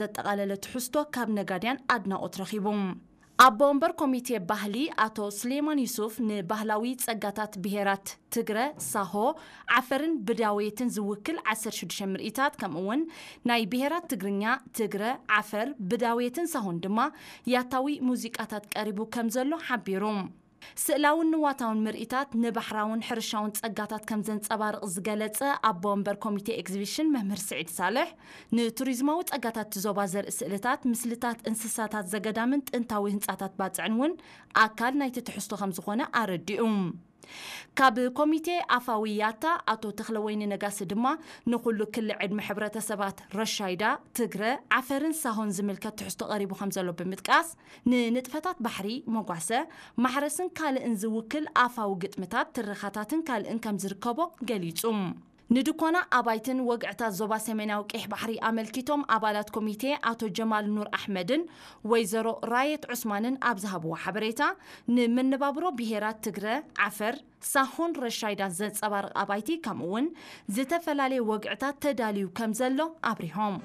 ዘጠቓለለ ትሕዝቶ ካብ ነጋድያን ኣድናቖት ረኺቡ። ኣቦ ወንበር ኮሚቴ ባህሊ ኣቶ ስሌማን ዩሱፍ፣ ንባህላዊ ጸጋታት ብሄራት ትግረ፣ ሳሆ፣ ዓፈርን ብዳውየትን ዝውክል ዓሰርተ ሽዱሽተ ምርኢታት፣ ከምኡ እውን ናይ ብሄራት ትግርኛ፣ ትግረ፣ ዓፈር፣ ብዳውየትን ሳሆን ድማ ያታዊ ሙዚቃታት ቀሪቡ ከም ዘሎ ሓቢሩ። ስእላውን ንዋታውን ምርኢታት ንባሕራውን ሕርሻውን ጸጋታት ከም ዘንጸባርቕ ዝገለጸ ኣቦ ወንበር ኮሚቴ ኤግዚቢሽን መምህር ስዒድ ሳልሕ፣ ንቱሪዝማዊ ጸጋታት እቲ ዞባ ዘርኢ ስእልታት፣ ምስልታት እንስሳታት ዘገዳምን ጥንታዊ ህንጻታት ባጽዕን እውን ኣካል ናይቲ ትሕዝቶ ከም ዝኾነ ኣረዲኡ። ካብ ኮሚቴ ኣፋዊ ያታ ኣቶ ተኽለወይኒ ነጋሲ ድማ፣ ንኹሉ ክሊ ዕድመ ሕብረተሰባት ረሻይዳ፣ ትግረ፣ ዓፈርን ሳሆን ዝምልከት ትሕዝቶ ቀሪቡ ከም ዘሎ ብምጥቃስ፣ ንንጥፈታት ባሕሪ፣ መጓሰ፣ ማሕረስን ካልእን ዝውክል ኣፋዊ ግጥምታት፣ ትረኻታትን ካልእን ከም ዝርከቦ ገሊጹ። ንድኮና ኣባይትን ወግዕታት ዞባ ሰሜናዊ ቀይሕ ባሕሪ ኣመልኪቶም፣ ኣባላት ኮሚቴ ኣቶ ጀማል ኑር ኣሕመድን ወይዘሮ ራየት ዑስማንን ኣብ ዝሃብዎ ሓበሬታ፣ ንመነባብሮ ብሄራት ትግረ፣ ዓፈር፣ ሳሆን ረሻይዳን ዘንጸባርቕ ኣባይቲ፣ ከምኡ እውን ዝተፈላለየ ወግዕታት ተዳልዩ ከም ዘሎ ኣብሪሆም።